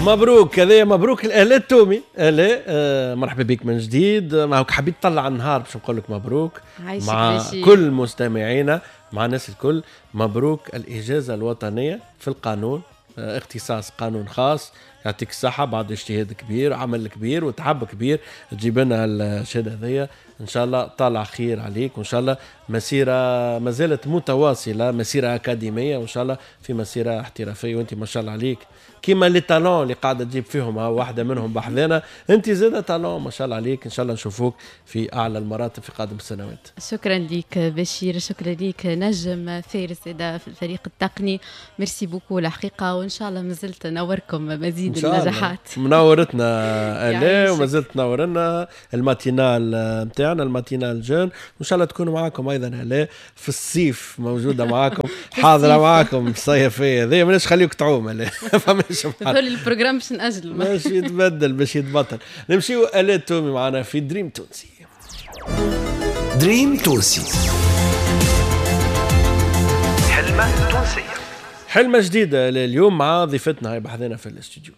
مبروك هذا، مبروك الاء التومي. الاء، مرحبا بك من جديد. معك حبيت تطلع النهار باش نقول لك مبروك مع بشير. كل مستمعينا، مع الناس الكل. مبروك الإجازة الوطنية في القانون، اختصاص قانون خاص. يعطيك الصحة، بعد اجتهاد كبير، عمل كبير وتعب كبير تجيب لنا الشهادة هذيا. إن شاء الله طالع خير عليك، وإن شاء الله مسيرة ما زالت متواصلة، مسيرة أكاديمية، وإن شاء الله في مسيرة احترافية. وأنت ما شاء الله عليك كيما les talents اللي قاعدة تجيب فيهم، ها واحدة منهم بحذانا، أنت زادة talent ما شاء الله عليك. إن شاء الله نشوفوك في أعلى المراتب في قادم السنوات. شكرا لك بشير، شكرا لك نجم فارس زادة في الفريق التقني. merci beaucoup الحقيقة، وإن شاء الله مازلت نوركم مزيد إن شاء الله. النجاحات. منورتنا آلاء، يعيشك. وما زلت تنورنا ال matinale نتاعنا، ال matinale jeune، وإن شاء الله تكونوا معاكم أيضا آلاء في الصيف، موجودة معاكم، حاضرة معاكم الصيفية هذه. ماناش خليك تعوم آلاء، فماش محل. هذول ال programme باش نأجلوا. باش يتبدل، باش يتبطل. نمشيو آلاء تومي معنا في دريم تونسي. دريم تونسي، حلمة تونسية، حلمة جديدة اليوم مع ضيفتنا هاي بحذنا في الاستوديو.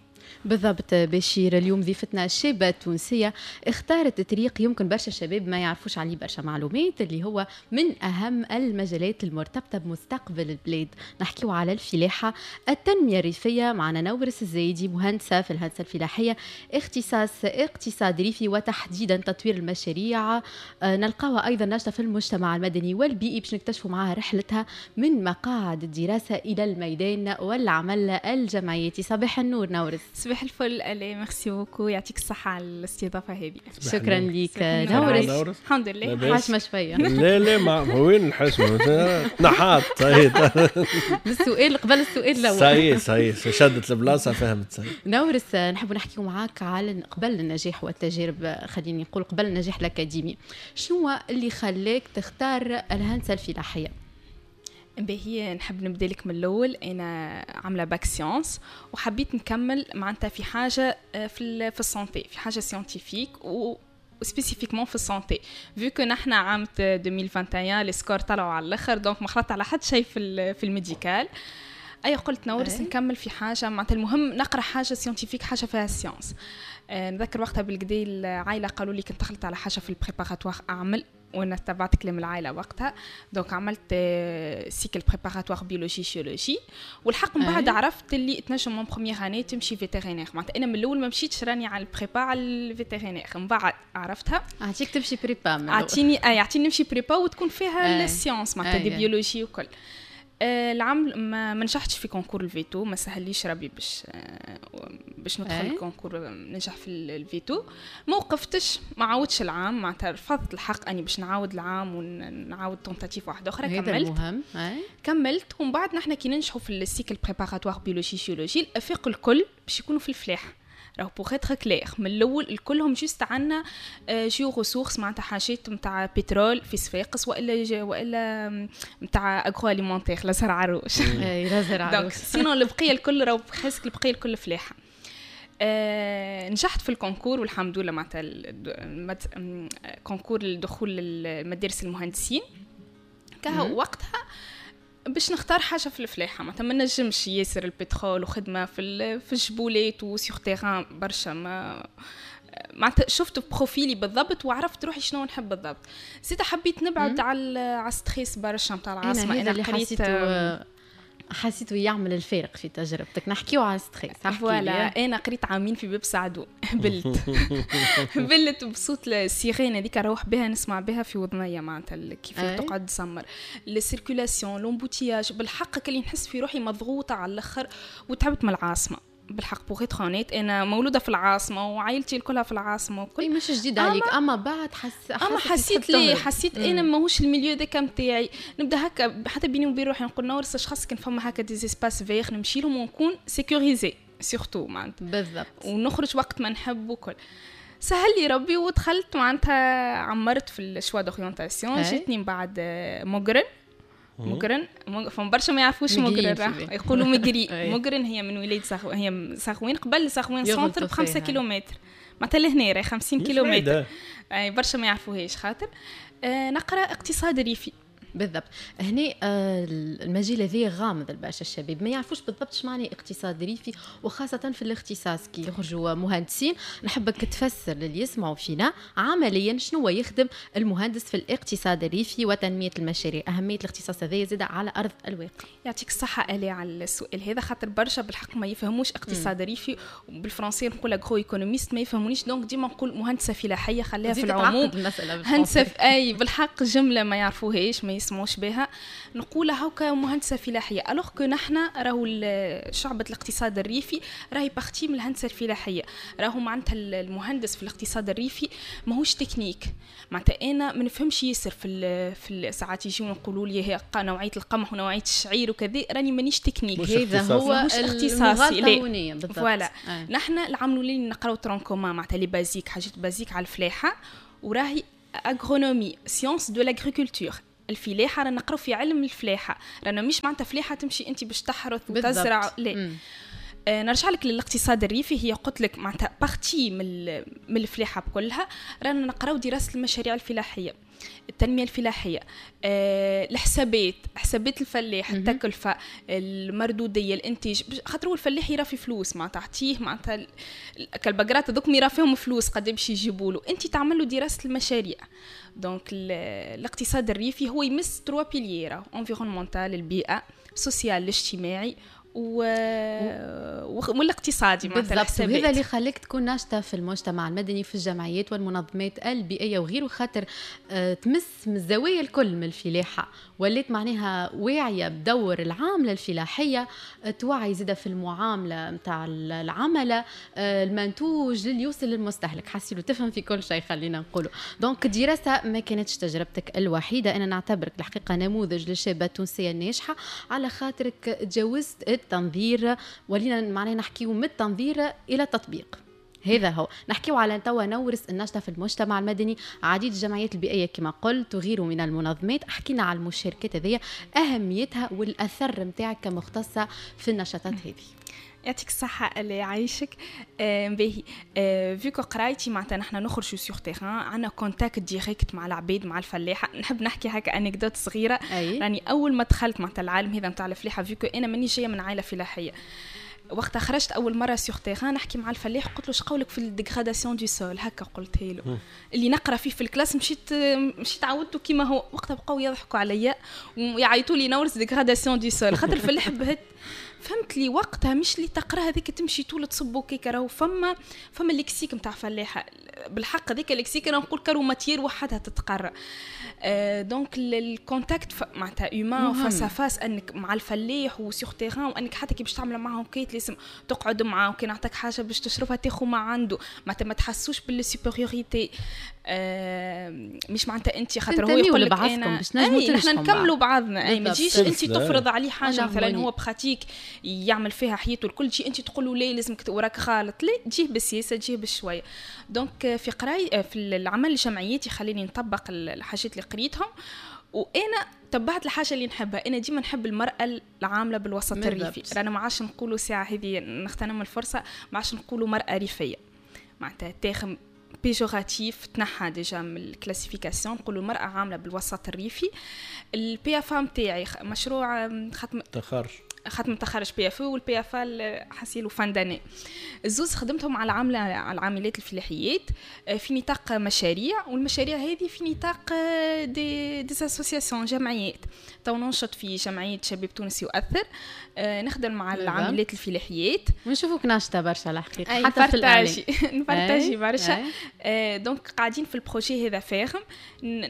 بالضبط بشير، اليوم ضيفتنا الشابة التونسية اختارت طريق يمكن برشا شباب ما يعرفوش عليه برشا معلومات، اللي هو من أهم المجالات المرتبطة بمستقبل البلاد. نحكيو على الفلاحة، التنمية الريفية. معنا نورس الزايدي، مهندسة في الهندسة الفلاحية، اختصاص اقتصاد ريفي وتحديدا تطوير المشاريع. نلقاوها أيضا ناشطة في المجتمع المدني والبيئي، باش نكتشفوا معها رحلتها من مقاعد الدراسة إلى الميدان والعمل الجمعياتي. صباح النور نورس. صباح الفل آلاء، merci beaucoup، يعطيك الصحة على الاستضافة هذه. شكرا لك صباح النور. نورس. نورس. الحمد لله. لاباس؟ حاشمة شوية. لا لا، ما وين الحشمة؟ نحات صحيح. بالسؤال قبل السؤال الأول. صحيح صحيح، شدت البلاصة، فهمت صحيح. نورس، نحب نحكيو معاك على قبل النجاح والتجارب، خليني نقول قبل النجاح الأكاديمي، شنو اللي خلاك تختار الهندسة الفلاحية؟ باهي، نحب نبدا لك من الاول. انا عامله bac sciences وحبيت نكمل معناتها في حاجة في ال santé، في حاجة scientifique و spécifiquement في ال santé، vu que نحنا عام 2021 les scores طلعوا على الاخر، donc ما خلطت على حد شيء في ال médical. اي قلت نورس نكمل في حاجة معناتها المهم نقرا حاجة scientifique، حاجة فيها science. نذكر وقتها بالكدا العائلة قالوا لي كنت دخلت على حاجة في ال préparatoire اعمل، وانا تبعت كلام العائلة وقتها، donc عملت cycle préparatoire biologie géologie. والحق من بعد عرفت اللي تنجم en première année تمشي vétérinaire. معناتها انا من الاول ما مشيتش راني على ال prépa على ال vétérinaire، من بعد عرفتها. اعطيك تمشي prépa من الأول. اعطيني اي اعطيني نمشي prépa وتكون فيها ال sciences معناتها des biologie وكل. العام ما نجحتش في concours ال véto، ما سهليش ربي باش ندخل ال concours ننجح في ال véto. ما وقفتش، ما عاودش العام، معناتها رفضت الحق اني باش نعاود العام ونعاود tentative واحدة اخرى. هذا كملت. المهم. كملت، ومن بعد نحن كي ننجحوا في ال cycle préparatoire biologie géologie، الافاق الكل باش يكونوا في الفلاح. راهو pour être clair من الاول الكلهم juste عندنا géoressources، معناتها حاجات نتاع بترول في صفاقس والا نتاع agroalimentaire لزهر عروش. اي لزهر donc عروش. sinon البقية الكل راهو presque البقية الكل فلاحة. نجحت في ال concours والحمد لله، معناتها concours الدخول للمدارس المهندسين. كهو وقتها باش نختار حاجة في الفلاحة، معناتها ما نجمش ياسر البترول وخدمه في الجبولات و sur terrain برشا، ما معناتها شفت profil ي بالضبط وعرفت روحي شنو نحب بالضبط. زيد حبيت نبعد على stress برشا نتاع العاصمة. انا انا اللي قريت حسيته يعمل الفارق في تجربتك. نحكيو على stress. احكي voilà لي. انا قريت عامين في باب سعدو، بلت بلت بصوت ال sirène هذيك، نروح بها نسمع بها في وذنيا، معناتها كيف تقعد تسمر la circulation، l'embouteillage. بالحق اللي نحس في روحي مضغوطه على الاخر وتعبت من العاصمة بالحق. pour être honnête انا مولودة في العاصمة وعائلتي كلها في العاصمة وكل إي مش جديد عليك، اما بعد حس اما حسيت حسيت تحب لي تهرب. حسيت انا ماهوش ال milieu ذاك نتاعي. نبدا هكا حتى بيني وبين روحي نقول نورس اش خاص كان فما هكا des espaces verts نمشي لهم ونكون sécurisée surtout معناتها. ونخرج وقت ما نحب وكل. سهل لي ربي ودخلت معناتها عمرت في ال choix d'orientation. جاتني من بعد مقرن. مقرن، فما برشا ما يعرفوش مقرين مقرن، في راح بالي. يقولوا مقري. أي. مقرن هي من ولاية هي زغوين، قبل زغوين يغلطوا centre ب5 فيها. كيلومتر، معناتها لهنا راهي 50 مش كيلومتر. بعيدة. اي برشا ما يعرفوهاش خاطر. نقرا اقتصاد ريفي. بالضبط. هنا المجال هذا غامض لبرشا الشباب، ما يعرفوش بالضبط شو معنى اقتصاد ريفي، وخاصة في الاختصاص كي يخرجوا مهندسين. نحبك تفسر للي يسمعوا فينا عمليا شنو يخدم المهندس في الاقتصاد الريفي وتنمية المشاريع، أهمية الاختصاص هذا زاد على أرض الواقع. يعطيك الصحة آلي على السؤال هذا، خاطر برشا بالحق ما يفهموش اقتصاد ريفي، وبالفرنسي نقول agroéconomiste ما يفهمونيش، donc ديما نقول مهندسة فلاحية خليها في العموم. هندسة أي بالحق جملة ما يعرفوهاش ما يسمعوش بها، نقولها هكا مهندسة فلاحية، alors que نحن راهو شعبة الاقتصاد الريفي راهي partie من الهندسة الفلاحية. راهو معناتها المهندس في الاقتصاد الريفي ماهوش تكنيك، معناتها انا ما نفهمش ياسر في ساعات يجيو نقولوا لي هي نوعية القمح ونوعية الشعير وكذا، راني مانيش تكنيك، هذا هو اختصاصي. voilà. نحن العام الاولاني نقراو tronc commun معناتها les basiques، حاجات basiques على الفلاحة، وراهي agronomie science de l'agriculture. الفلاحة رانا نقراو في علم الفلاحة، رانا مش معناتها فلاحة تمشي انت باش تحرث وتزرع، لا. نرجع لك للاقتصاد الريفي، هي قلت لك معناتها partie من الفلاحة بكلها. رانا نقراو دراسة المشاريع الفلاحية، التنمية الفلاحية، الحسابات، حسابات الفلاح، التكلفة، المردوديه، الانتاج، خاطر هو الفلاح يرى في فلوس، معناتها تعطيه معناتها كالبقرات هذوك يرى فيهم فلوس قد باش يجيبوا له، انت تعمل له دراسة المشاريع. donc الاقتصاد الريفي هو يمس trois piliers، environnemental البيئة، social الاجتماعي، والاقتصادي معناتها الحسابات. وهذا اللي خليك تكون ناشطة في المجتمع المدني، في الجمعيات والمنظمات البيئية وغيره، خاطر تمس من الزوايا الكل من الفلاحة، وليت معناها واعية بدور العاملة الفلاحية، توعي زاده في المعاملة نتاع العملة، المنتوج اللي يوصل للمستهلك، حسيلو تفهم في كل شيء خلينا نقولوا. donc الدراسة ما كانتش تجربتك الوحيدة، انا نعتبرك الحقيقة نموذج للشابه التونسية الناجحة، على خاطرك تجاوزت التنظير، ولينا معناها نحكيو من التنظير الى التطبيق. هذا هو نحكيو على توا نورس النشطه في المجتمع المدني، عديد الجمعيات البيئية كما قلت وغيره من المنظمات. حكينا على المشاركات هذه، اهميتها والاثر نتاعك كمختصه في النشاطات هذه. يعطيك الصحة اللي يعيشك. باهي، vu que قرايتي معناتها نحن نخرجوا sur terrain، عندنا contact direct مع العبيد مع الفلاحة. نحب نحكي هكا anecdote صغيرة. راني أول ما دخلت معناتها العالم هذا نتاع الفلاحة، vu que أنا ماني جاية من عائلة فلاحية، وقتها خرجت اول مرة sur terrain نحكي مع الفلاح، قلت له شقولك في ال dégradation du sol، هكا قلت له اللي نقرا فيه في ال classe، مشيت عاودته كيما هو. وقتها بقاو يضحكوا عليا ويعيطوا لي نورس dégradation du sol، خاطر الفلاح بهت. فهمت لي وقتها مش اللي تقرا هذيك تمشي طول تصبو كيك، راهو فما lexique نتاع فلاحة بالحق، هذيك lexique انا نقول كارو matière وحدها تتقرا. donc ال contact معناتها humain face à face، انك مع الفلاح و sur terrain، وانك حتى كي باش تعمل معاهم كيت لازم تقعد معاه، وكي نعطيك حاجة باش تشربها تاخذ ما عنده، معناتها ما تحسوش بال supériorité. مش معناتها انت خاطر هو يقول لك انا باش نجمو نحن نكملوا بعضنا، اي ما تجيش انت تفرض عليه حاجة مثلا هو pratique يعمل فيها حياته الكل، تجي انت تقول له لا لازمك وراك غلط، لا تجيه بالسياسة تجيه بالشويه. donc في قراي في العمل الجمعياتي خليني نطبق الحاجات اللي قريتهم، وانا تبعت الحاجة اللي نحبها. انا ديما نحب المراة العاملة بالوسط الريفي، رانا ما عادش نقولوا ساعة هذه نغتنم الفرصة، ما عادش نقولوا مراة ريفيه، معناتها terme péjoratif تنحى déjà من ال classification، نقولوا المراة عامله بالوسط الريفي. ال PFA نتاعي مشروع ختم تخرج، ختم تخرج PFE وال PFA حسيلو fin d'année، الزوز خدمتهم على العاملة على العاملات الفلاحيات في نطاق مشاريع، والمشاريع هذه في نطاق des associations جمعيات. تو ننشط في جمعية شباب تونسي يؤثر، نخدم مع العاملات الفلاحيات، ونشوفوك ناشطة برشا الحقيقة، حتى في الإعلام نبارتاجي برشا. donc قاعدين في ال projet هذا فاهم،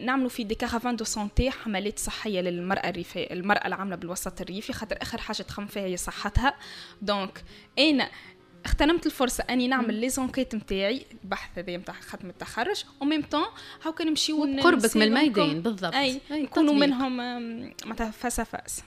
نعملوا في des caravanes de santé، حملات صحية للمراة الريفية، المراة العاملة بالوسط الريفي، خاطر اخر حاجة تخمم فيها هي صحتها. donc انا اغتنمت الفرصة اني نعمل les enquêtes نتاعي، البحث هذا نتاع ختم التخرج، و même temps هاكا نمشيو قربك من الميدان بالضبط، اي نكونوا منهم معناتها face à face.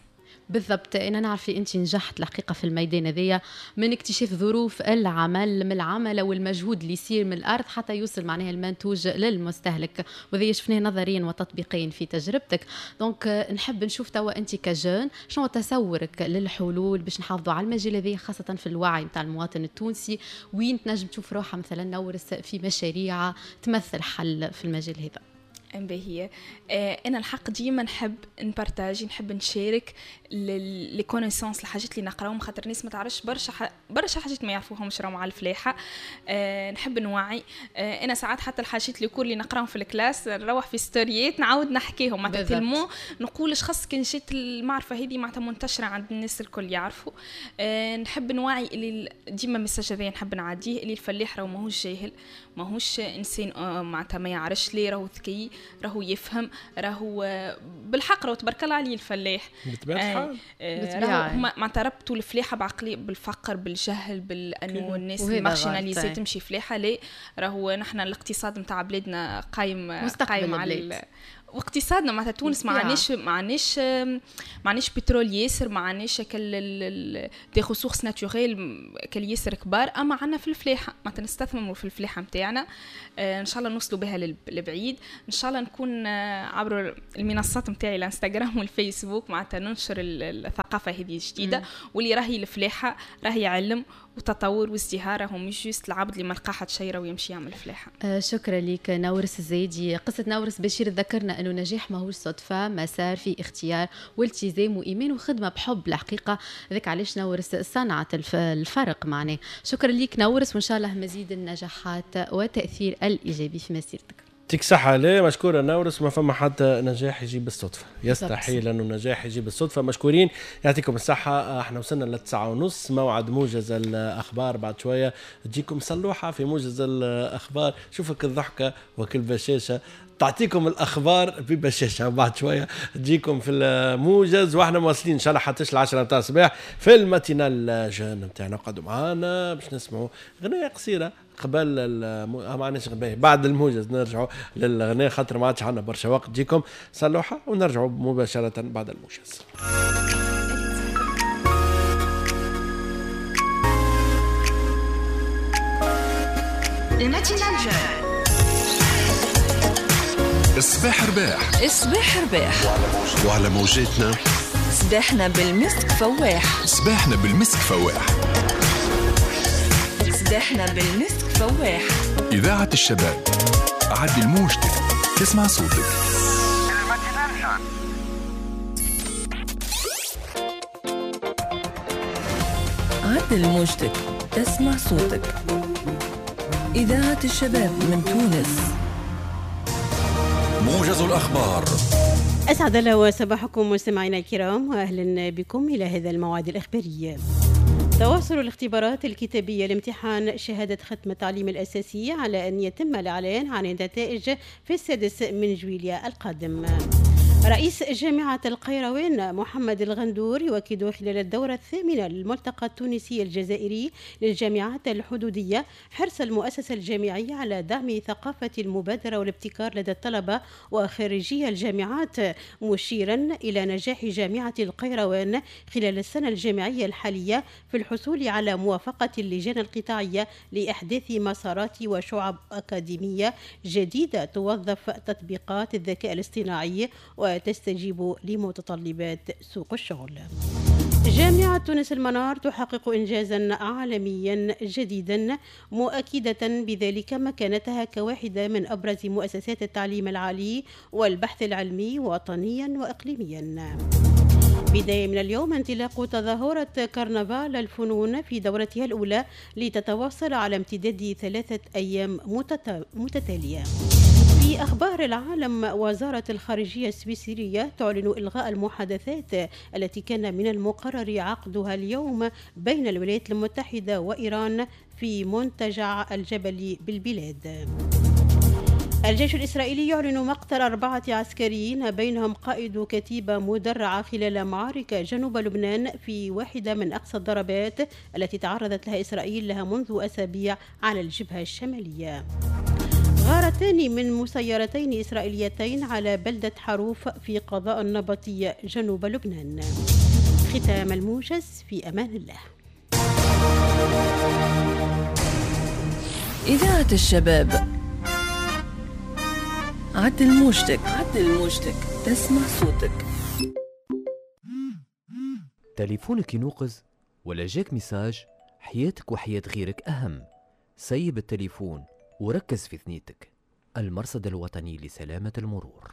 بالضبط. انا نعرف انت نجحت الحقيقة في الميدان هذايا، من اكتشاف ظروف العمل من العمل والمجهود اللي يصير من الارض حتى يوصل معناها المنتوج للمستهلك، وهذا شفناه نظريا وتطبيقيا في تجربتك. donc نحب نشوف توا انت ك jeune شنو تصورك للحلول باش نحافظوا على المجال هذا، خاصة في الوعي نتاع المواطن التونسي، وين تنجم تشوف روحها مثلا نورس في مشاريع تمثل حل في المجال هذا. باهية. انا الحق ديما نحب ن partager، نحب نشارك les connaissances، الحاجات اللي نقراهم، خاطر الناس ما تعرفش برشا حاجات ما يعرفوهمش راهم على الفلاحة. نحب نوعي. انا ساعات حتى الحاجات les cours اللي نقراهم في ال classe نروح في ستوريات نعاود نحكيهم، معناتها tellement نقول اش خص كان جات المعرفة هذه معناتها منتشرة عند الناس الكل يعرفوا. نحب نوعي اللي ديما message هذايا نحب نعديه، اللي الفلاح راهو ماهوش جاهل، ماهوش انسان معناتها ما يعرفش ليه، راهو ذكي، راهو يفهم، راهو بالحق راهو تبارك الله عليه الفلاح. بالطبيعة راهو هما معناتها ربطوا الفلاحة بعقلية بالفقر بالجهل بانه الناس marginalisés تمشي فلاحة. لا، راهو نحن الاقتصاد نتاع بلادنا قايم على واقتصادنا معناتها تونس ما عندناش بترول ياسر، ما عندناش كل des ressources naturelles كل ياسر كبار، اما عندنا في الفلاحة معناتها نستثمروا في الفلاحة نتاعنا. ان شاء الله نوصلوا بها للبعيد، ان شاء الله نكون عبر المنصات نتاعي الانستغرام والفيسبوك معناتها ننشر الثقافة هذه الجديدة، واللي راهي الفلاحة راهي علم وتطور وازدهار، هو مش juste العبد اللي ما لقى حد شيره ويمشي يعمل فلاحة. شكرا لك نورس الزايدي. قصة نورس بشير ذكرنا انه نجاح ماهوش صدفة، مسار في اختيار والتزام وايمان وخدمه بحب الحقيقة، ذاك علاش نورس صنعت الفرق معناه. شكرا لك نورس، وان شاء الله مزيد النجاحات والتاثير الايجابي في مسيرتك. يعطيك صحة. لا مشكورة نورس، ما فما حتى نجاح يجيب بالصدفة، يستحيل أنه نجاح يجيب بالصدفة. مشكورين، يعطيكم الصحة. احنا وصلنا ل9:30، موعد موجز الأخبار بعد شوية تجيكم صلوحة في موجز الأخبار. شوفك الضحكة وكل بشاشة تعطيكم الأخبار ببشاشة، بعد شوية تجيكم في الموجز، واحنا مواصلين إن شاء الله حتى 10 متاع الصباح في ال matinale jeune نتاعنا. قعدوا معانا باش نسمعوا غنية قصيرة قبل ما عندناش غناء بعد الموجز، نرجعوا للغناء خاطر ما عادش عندنا برشا وقت. تجيكم صلوحة ونرجعوا مباشرة بعد الموجز. ال matinale jeune. الصباح رباح، الصباح رباح، وعلى موجاتنا صباحنا بالمسك فواح، صباحنا بالمسك فواح، صباحنا بالمسك فواح. إذاعة الشباب، عدل موجتك تسمع صوتك. عدل موجتك تسمع صوتك. إذاعة الشباب من تونس. موجز الأخبار. أسعد الله صباحكم مستمعينا الكرام، وأهلا بكم إلى هذا الموعد الإخباري. تواصل الاختبارات الكتابية لامتحان شهادة ختم التعليم الأساسي على أن يتم الإعلان عن النتائج في 6 جويلية القادم. رئيس جامعة القيروان محمد الغندور يؤكد خلال الدورة الثامنة للملتقى التونسي الجزائري للجامعات الحدودية حرص المؤسسة الجامعية على دعم ثقافة المبادرة والابتكار لدى الطلبة وخريجي الجامعات، مشيرا إلى نجاح جامعة القيروان خلال السنة الجامعية الحالية في الحصول على موافقة اللجان القطاعية لإحداث مسارات وشعب أكاديمية جديدة توظف تطبيقات الذكاء الاصطناعي وتستجيب لمتطلبات سوق الشغل. جامعة تونس المنار تحقق إنجازا عالميا جديدا، مؤكدة بذلك مكانتها كواحدة من أبرز مؤسسات التعليم العالي والبحث العلمي وطنيا وإقليميا. بداية من اليوم انطلاق تظاهرة كرنفال الفنون في دورتها الأولى لتتواصل على امتداد 3 أيام متتالية. في أخبار العالم، وزارة الخارجية السويسرية تعلن إلغاء المحادثات التي كان من المقرر عقدها اليوم بين الولايات المتحدة وإيران في منتجع الجبل بالبلاد. الجيش الإسرائيلي يعلن مقتل 4 عسكريين بينهم قائد كتيبة مدرعة خلال معارك جنوب لبنان في واحدة من أقصى الضربات التي تعرضت لها إسرائيل لها منذ أسابيع على الجبهة الشمالية. غارتان من مسيرتين إسرائيليتين على بلدة حروف في قضاء النبطية جنوب لبنان. ختام الموجز، في أمان الله. إذاعة الشباب، عدل موجتك، عدل موجتك، تسمع صوتك. تليفونك ينوقز ولا جاك message، حياتك وحياة غيرك أهم. سيب التليفون وركز في ثنيتك. المرصد الوطني لسلامة المرور.